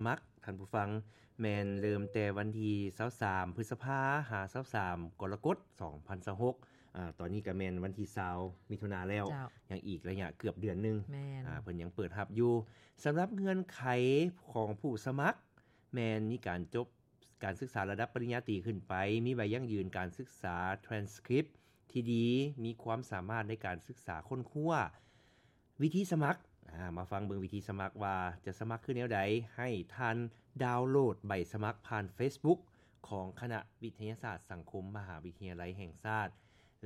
ມັກ ທ່ານຜູ້ຟັງ ແມ່ນເລີ່ມແຕ່ວັນທີຊາວສາມ ພຶດສະພາ ຫາ ຊາວສາມ ກໍລະກົດ ສອງພັນຊາວຫົກ ອາ ຕອນນີ້ກໍແມ່ນວັນທີຊາວ ມິຖຸນາແລ້ວ ເຈົ້າ ຍັງອີກໄລຍະເກືອບເດືອນໜຶ່ງ ແມ່ນ ອາ ເພິ່ນຍັງເປີດຮັບຢູ່. ສຳລັບເງື່ອນໄຂຂອງຜູ້ສະໝັກ ແມ່ນມີການຈົບ ການສຶກສາລະດັບປະລິນຍາຕີຂຶ້ນໄປ, ມີໃບຢັ້ງຢືນການສຶກສາ transcript ທີ່ດີ, ມີຄວາມສາມາດໃນການສຶກສາຄົ້ນຄວ້າ. ວິທີສະໝັກ ອາ ມາຟັງເບິ່ງວິທີສະໝັກວ່າຈະສະໝັກຄືແນວໃດ. ໃຫ້ທ່ານດາວໂຫຼດໃບສະໝັກຜ່ານ Facebook ຂອງຄະນະວິທະຍາສາດສັງຄົມ ມະຫາວິທະຍາໄລແຫ່ງຊາດ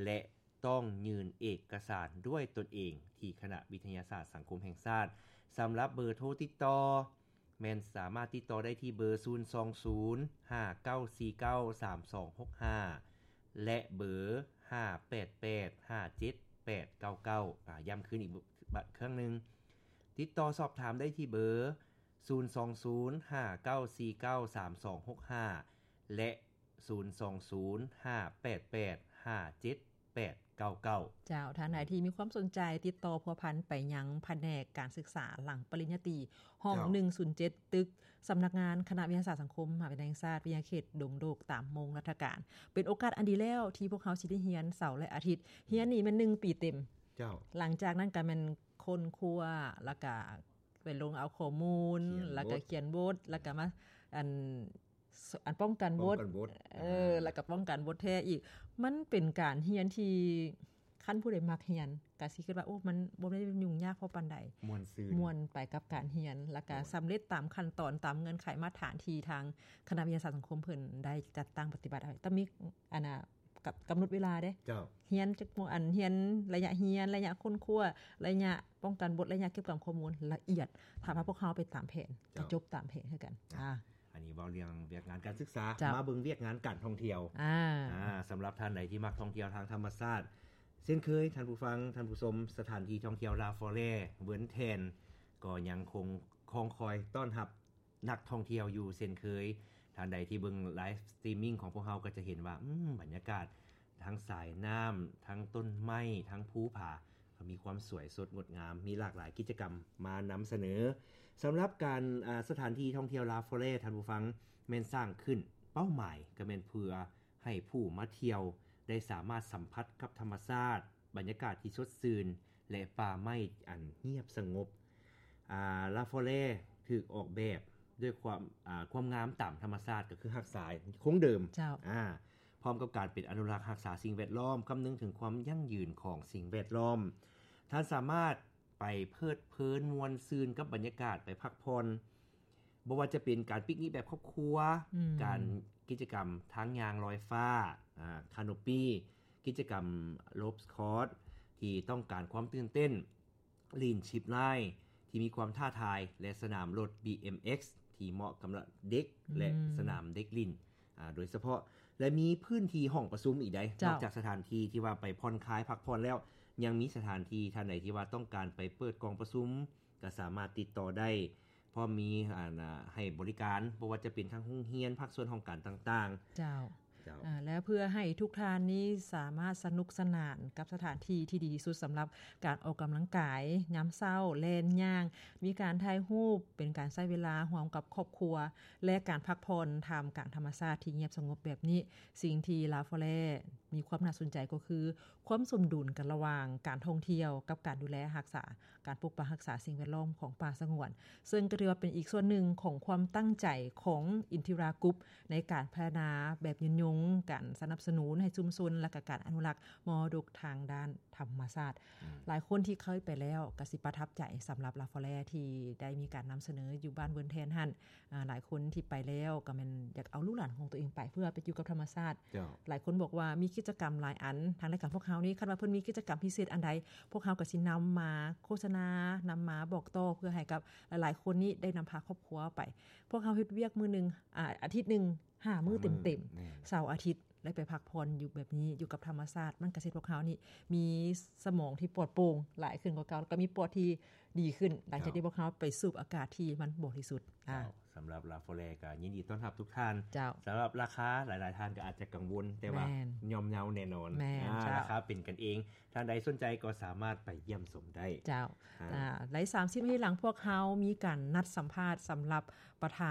ແລະ ຕ້ອງຍື່ນເອກະສານດ້ວຍຕົນເອງທີ່ຄະນະວິທະຍາສາດສັງຄົມແຫ່ງຊາດ. ສຳລັບເບີໂທຕິດຕໍ່ ແມ່ນສາມາດຕິດຕໍ່ໄດ້ທີ່ເບີ ສູນສອງສູນ ຫ້າເກົ້າສີ່ເກົ້າ ສາມສອງຫົກຫ້າ ແລະ ເບີ ຫ້າແປດແປດ ຫ້າເຈັດແປດເກົ້າເກົ້າ ອາ ຢ້ຳຄືນອີກ ບ- ເຄິ່ງໜຶ່ງ ຕິດຕໍ່ສອບຖາມໄດ້ທີ່ເບີ ສູນສອງສູນ ຫ້າເກົ້າສີ່ເກົ້າ ສາມສອງຫົກຫ້າ ແລະ ສູນສອງສູນ ຫ້າແປດແປດ ຫ້າເຈັດແປດເກົ້າເກົ້າ. ເຈົ້າ ທ່ານໃດທີ່ມີຄວາມສົນໃຈ ຕິດຕໍ່ພົວພັນໄປຍັງພະແນກການສຶກສາຫຼັງປະລິນຍາຕີ ຫ້ອງ ເຈົ້າ ໜຶ່ງສູນເຈັດ ຕຶກສຳນັກງານຄະນະວິທະຍາສາດສັງຄົມ ມະຫາວິທະຍາໄລແຫ່ງຊາດ ວິທະຍາເຂດດົງໂດກ ຕາມໂມງລັດຖະການ. ເປັນໂອກາດອັນດີແລ້ວທີ່ພວກເຮົາຊິໄດ້ຮຽນເສົາ ແລະ ອາທິດ. ຮຽນນີ້ແມ່ນໜຶ່ງປີເຕັມ. ເຈົ້າ. ຫຼັງຈາກນັ້ນກໍແມ່ນຄົ້ນຄວ້າ ແລ້ວກໍໄປລົງເອົາຂໍ້ມູນ ແລ້ວກໍຂຽນບົດ ແລ້ວກໍມາ ອັນ ອັນປ້ອງກັນບົດ ປ້ອງກັນບົດ ເອີ ອາ ແລ້ວກໍປ້ອງກັນບົດແທ້ອີກ. ມັນເປັນການຮຽນທີ່ ຄັນຜູ້ໃດມັກຮຽນ ກໍຊິຄິດວ່າ ໂອ້ ມັນບໍ່ໄດ້ຫຍຸ້ງຍາກພໍປານໃດ ມ່ວນຊື່ນ ມ່ວນໄປກັບການຮຽນ ແລ້ວກໍ ໂດຍ ສຳເລັດຕາມຂັ້ນຕອນ ຕາມເງື່ອນໄຂມາດຖານທີ່ທາງຄະນະວິທະຍາສາດສັງຄົມເພິ່ນໄດ້ຈັດຕັ້ງປະຕິບັດໄວ້. ຕ້ອງມີ ອັນນ່າ ກຳ ກຳນົດເວລາເດ້ ເຈົ້າ ຮຽນຈັກໂມງ ອັນ ຮຽນໄລຍະຮຽນ ໄລຍະຄົ້ນຄວ້າ ໄລຍະປ້ອງກັນບົດ ໄລຍະເກັບກຳຂໍ້ມູນລະອຽດ. ຖ້າວ່າພວກເຮົາໄປຕາມແຜນ ເຈົ້າ ຈະຈົບຕາມແຜນຄືກັນ. ອ່າ ອັນນີ້ເວົ້າເລື່ອງວຽກງານການສຶກສາ. ເຈົ້າ. ມາເບິ່ງວຽກງານການທ່ອງທ່ຽວ. ອ່າ ອ່າ ສຳລັບທ່ານໃດທີ່ມັກທ່ອງທ່ຽວທາງທຳມະຊາດ ເຊັ່ນເຄີຍ ທ່ານຜູ້ຟັງ ທ່ານຜູ້ຊົມ, ສະຖານທີ່ທ່ອງທ່ຽວ La Forêt ເວີນແທນ ກໍຍັງຄົງຄອງຄອຍຕ້ອນຮັບ ນັກທ່ອງທ່ຽວຢູ່ເຊັ່ນເຄີຍ. ທ່ານໃດທີ່ເບິ່ງໄລຟ໌ສະຕຣີມມິງຂອງພວກເຮົາກໍຈະເຫັນວ່າ ອືມ ບັນຍາກາດທັງສາຍນ້ຳ ທັງຕົ້ນໄມ້ ທັງພູຜາ ກໍມີຄວາມສວຍສົດງົດງາມ, ມີຫຼາກຫຼາຍກິດຈະກຳມານຳສະເໜີ. ສຳລັບການ ອາ ສະຖານທີ່ທ່ອງທ່ຽວ La Forêt ທ່ານຜູ້ຟັງ ແມ່ນສ້າງຂຶ້ນ ເປົ້າໝາຍກໍແມ່ນເພື່ອໃຫ້ຜູ້ມາທ່ຽວໄດ້ສາມາດສຳຜັດກັບທຳມະຊາດ, ບັນຍາກາດທີ່ສົດຊື່ນ ແລະ ປ່າໄມ້ອັນງຽບສະຫງົບ. ອາ La Forêt ຖືກອອກແບບດ້ວຍຄວາມ ອາ ຄວາມງາມຕາມທຳມະຊາດ ກໍຄືຮັກສາຄົງເດີມ. ເຈົ້າ. ອາ ພ້ອມກັບການເປັນອະນຸລັກຮັກສາສິ່ງແວດລ້ອມ, ຄຳນຶງເຖິງຄວາມຢັ້ງຢືນຂອງສິ່ງແວດລ້ອມ. ທ່ານສາມາດໄປເພີດເພີນມ່ວນຊື່ນກັບບັນຍາກາດ, ໄປພັກຜ່ອນ, ບໍ່ວ່າຈະເປັນການປິກນິກແບບຄອບຄົວ, ອືມ ການ ກິດຈະກຳທາງຍ່າງລອຍຟ້າ, ອາ ຄາໂນປີ, ກິດຈະກຳໂລບສຄອດທີ່ຕ້ອງການຄວາມຕື່ນເຕັ້ນ, ຫຼິ້ນຊິບລາຍທີ່ມີຄວາມທ້າທາຍ ແລະ ສະໜາມລົດ ບີເອັມເອັກ ທີ່ເໝາະກຳລັບເດັກ ອືມ ແລະ ສະໜາມເດັກຫຼິ້ນ ອາ ໂດຍສະເພາະ ແລະ ມີພື້ນທີ່ຫ້ອງປະຊຸມອີກໃດ໋. ເຈົ້າ. ນອກຈາກສະຖານທີ່ທີ່ວ່າໄປຜ່ອນຄາຍພັກຜ່ອນແລ້ວ ຍັງມີສະຖານທີ່ ທ່ານໃດທີ່ວ່າຕ້ອງການໄປເປີດກອງປະຊຸມ ກໍສາມາດຕິດຕໍ່ໄດ້ ພ້ອມມີ ອັນ ໃຫ້ບໍລິການ ບໍ່ວ່າຈະເປັນທາງໂຮງຮຽນ, ພາກສ່ວນຫ້ອງການຕ່າງໆ. ເຈົ້າ. ເຈົ້າ. ອາ ແລະ ເພື່ອໃຫ້ທຸກທ່ານນີ້ສາມາດສະໜຸກສະໜານກັບສະຖານທີ່ທີ່ດີທີ່ສຸດສຳລັບການອອກກຳລັງກາຍຍາມເຊົ້າ, ແລ່ນ, ຍ່າງ, ມີການຖ່າຍຮູບ, ເປັນການໃຊ້ເວລາຮ່ວມກັບຄອບຄົວ ແລະ ການພັກຜ່ອນທ່າມກາງທຳມະຊາດທີ່ງຽບສະຫງົບແບບນີ້, ສິ່ງທີ່ La Forêt ມີຄວາມໜ້າສົນໃຈກໍຄື ຄວາມສົມດຸນກັນລະຫວ່າງການທ່ອງທ່ຽວກັບການດູແລຮັກສາ ການປົກປັກຮັກສາສິ່ງແວດລ້ອມຂອງປ່າສະຫງວນ, ເຊິ່ງກໍຖືວ່າເປັນອີກສ່ວນໜຶ່ງຂອງຄວາມຕັ້ງໃຈຂອງ Inthira Group ໃນການພັດທະນາແບບຍືນຍົງ, ການສະໜັບສະໜູນໃຫ້ຊຸມຊົນ ແລະ ກະການອະນຸລັກມໍລະດົກທາງດ້ານທຳມະຊາດ. ອືມ. ຫຼາຍຄົນທີ່ເຄີຍໄປແລ້ວກໍຊິປະທັບໃຈສຳລັບ La Forêt ທີ່ໄດ້ມີການນຳສະເໜີຢູ່ບ້ານເວີນແທນຫັ້ນ. ອາ ຫຼາຍຄົນທີ່ໄປແລ້ວກໍແມ່ນຢາກເອົາລູກຫຼານຂອງຕົວເອງໄປ ເພື່ອໄປຢູ່ກັບທຳມະຊາດ. ເຈົ້າ. ຫຼາຍຄົນບອກວ່າມີກິດຈະກຳຫຼາຍອັນ, ທາງລາຍການພວກເຮົານີ້ ຄັນວ່າເພິ່ນມີກິດຈະກຳພິເສດອັນໃດ ພວກເຮົາກໍຊິນຳມາໂຄສະນາ, ນຳມາບອກຕໍ່ ເພື່ອໃຫ້ກັບຫຼາຍໆຄົນນີ້ໄດ້ນຳພາຄອບຄົວໄປ. ພວກເຮົາເຮັດວຽກມື້ໜຶ່ງ ອາ ອາທິດໜຶ່ງ ຫ້າມື້ເຕັມໆ ຫ້າມື້ ແມ່ນ ເສົາອາທິດ ໄດ້ໄປພັກຜ່ອນຢູ່ແບບນີ້ ຢູ່ກັບທຳມະຊາດ ມັນກໍເຮັດພວກເຮົານີ້ມີສະໝອງທີ່ປອດໂປ່ງຫຼາຍຂຶ້ນກວ່າເກົ່າ ແລ້ວກໍມີປອດທີ່ດີຂຶ້ນ ຫຼັງຈາກທີ່ພວກເຮົາໄປສູບອາກາດທີ່ມັນບໍລິສຸດ. ເຈົ້າ ສຳລັບ La Forêt ກໍຍິນດີຕ້ອນຮັບທຸກທ່ານ. ເຈົ້າ ສຳລັບລາຄາ ຫຼາຍໆທ່ານກໍອາດຈະກັງວົນ ແຕ່ວ່າ ແມ່ນ ຍ່ອມເຍົາແນ່ນອນ. ແມ່ນ ອ່າ ເຈົ້າ ລາຄາເປັນກັນເອງ. ທ່ານໃດສົນໃຈກໍສາມາດໄປຢ້ຽມຊົມໄດ້. ເຈົ້າ ອ່າ ອ່າ ໃນສາມສິບນາທີຫຼັງ ພວກເຮົາມີການນັດສຳພາດສຳລັບປະທານ